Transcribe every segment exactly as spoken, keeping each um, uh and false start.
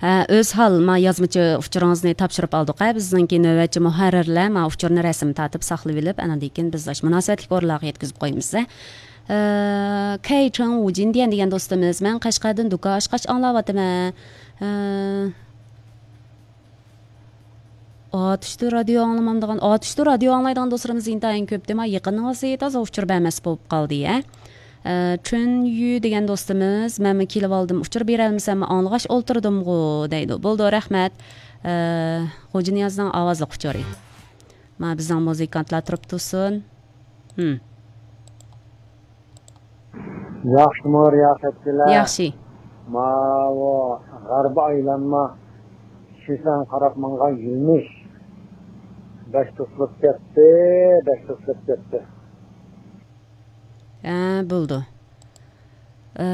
ھە، ئۆزھال، ما يازمىچە ئۇچۇرىڭىزنى تاپشۇرۇپ ئالدۇق ھە. بىزنىڭكى نۆۋەتچى مۇھەررىرلەر ما ئۇچۇرنى رەسىم تارتىپ ساقلىۋېلىپ، ئانىڭدىن كېيىن بىز ئاشۇ مۇناسىۋەتلىك ئورۇنلارغا يەتكۈزۈپ قويىمىز ھە. ئە، كەيچىڭ ۋۇجىن دېگەن، دېگەن دوستىمىز، مەن قەشقەردىن دۇكان ئاچقاچ ئاڭلاۋاتىمەن. ئە، ئاتۇشتا رادىيو ئاڭلىمامدىغان، ئاتۇشتا رادىيو ئاڭلايدىغان دوستلىرىمىز ئىنتايىن كۆپ، دېما يېقىنىڭىزدا تازا ئۇچۇر بەرمەس بولۇپ قالدى ھە. ئە، چۈن يۈ دېگەن دوستىمىز، مەنمۇ كېلىۋالدىم، ئۇچۇر بېرەلمىسەممۇ ئاڭلىغاچ ئولتۇردۇمغۇ دەيدۇ. بولىدۇ، رەھمەت. ئە، غوجىنىيازنىڭ ئاۋازلىق ئۇچۇرى. ما بىزنىڭ مۇزىكانتلار تۇرۇپ تۇرسۇن. ھىم. ياخشىمۇ رىياسەتچىلەر؟ ياخشى. ماۋۇ غەربىي ئايلانما شىسەن قاراپ ماڭغان يۈرمۈش بەك توسۇلۇپ كەتتى، بەك توسۇلۇپ كەتتى. ھە، بولىدۇ. ئە،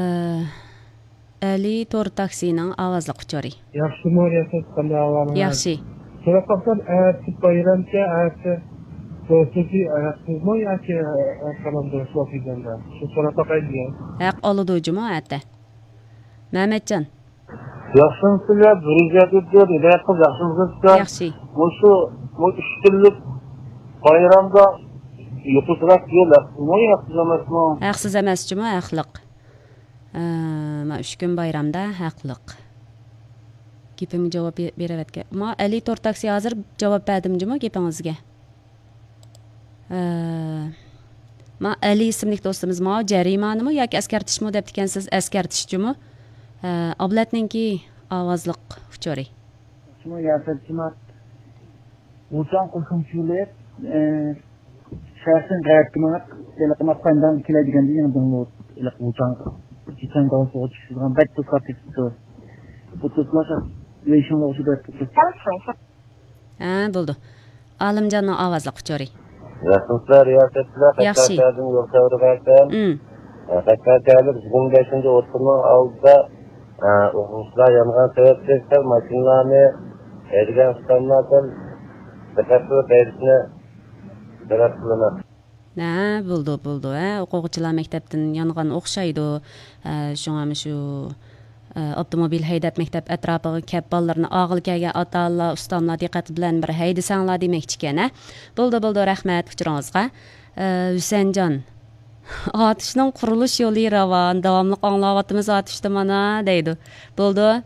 ئەلى تور تاكسىنىڭ ئاۋازلىق ئۇچۇرى. ياخشىمۇ رىياسەت، قانداق ئەھۋالىڭىز؟ ياخشى. سوراپ باقسام، ئەتە بايرامكەن، ئەتە دوستلۇقى ھەقسىزمۇ ياكى ھەق قالامدۇ شۇ دېگەندە؟ شۇ سوراپ باقاي دېگەن. ھەق ئالىدۇ جۇمۇ ئەتە. مەمەتجان. ياخشىمۇسىلەر، بىر يەردە ھىدايەت قىلىپ، ياخشىمۇسىلەر؟ ياخشى. مۇشۇ، بۇ ئۈچ كۈنلۈك بايرامدا يوقىتىراق يول ھەقسىزمۇ، ھەقسىز ئەمەسمۇ؟ ھەقسىز ئەمەس جۇمۇ، ھەقلىق. ئە، ما ئۈچ كۈن بايرامدا ھەقلىق. گېپىمگە جاۋاب بې-، بېرىۋەتكەن. ما ئەلى تور تاكسى ھازىر جاۋاب بەردىم جۇمۇ گېپىڭىزگە. ئە، ما ئەلى ئىسىملىك دوستىمىز، ما جەرىمانىمۇ ياكى ئەسكەرتىشمۇ دەپتىكەنسىز، ئەسكەرتىش جۇمۇ. ئە، ئابلەتنىڭكى ئاۋازلىق ئۇچۇرى. شۇمۇ ياسەتچىمات. ۋۇچاڭ قوشۇمچىلىق، ئە، شەرقتىن غەربكە مېڭىپ، ھېلىقى ماقاندان كېلەيدىغان دېگەن دىڭلۇ، ھېلىقى ۋۇچاڭ، چېچەن گاۋسىغا چۈشىدىغان بەك توساتتى. بۇ توسما شەرق ۋېيشىڭغا ئوخشىدى. ھە، بولىدۇ. ئالىمجاننىڭ ئاۋازلىق ئۇچۇرى. رەھمەتلەر، رىياسەتچىلەر، ياخشى. قەشقەردىن يول تەۋرىۋەرسەم. ئىم. قەشقەر شەھەرلىك يىگىرمە بەشىنچى ئوتتۇرىنىڭ ئالدىدا، ئوقۇغۇچىلار يانغان سەۋەبلىك سەل ماشىنىلارنى ھەيدىگەن ئۇستاملار سەل دىققەت قىلىپ ھەيدىشىنى تەلەپ قىلىمەن. ھە، بولىدۇ، بولىدۇ. ھە، ئوقۇغۇچىلار مەكتەپتىن يانغان ئوخشايدۇ. ھە، شۇڭا مۇشۇ، ئە، ئاپتوموبىل ھەيدەپ مەكتەپ ئەتراپىغا كەپ بالىلىرىنى ئالغىلى كەلگەن ئاتا-ئانىلار، ئۇستاملار دىققەت بىلەن بىر ھەيدىسەڭلار دېمەكچىكەن، ھە. بولىدۇ، بولىدۇ، رەھمەت ئۇچۇرىڭىزغا. ئە، ھۈسەنجان، ئاتۇشنىڭ قۇرۇلۇش يولى راۋان، داۋاملىق ئاڭلاۋاتىمىز ئاتۇشتا مانا، دەيدۇ. بولىدۇ.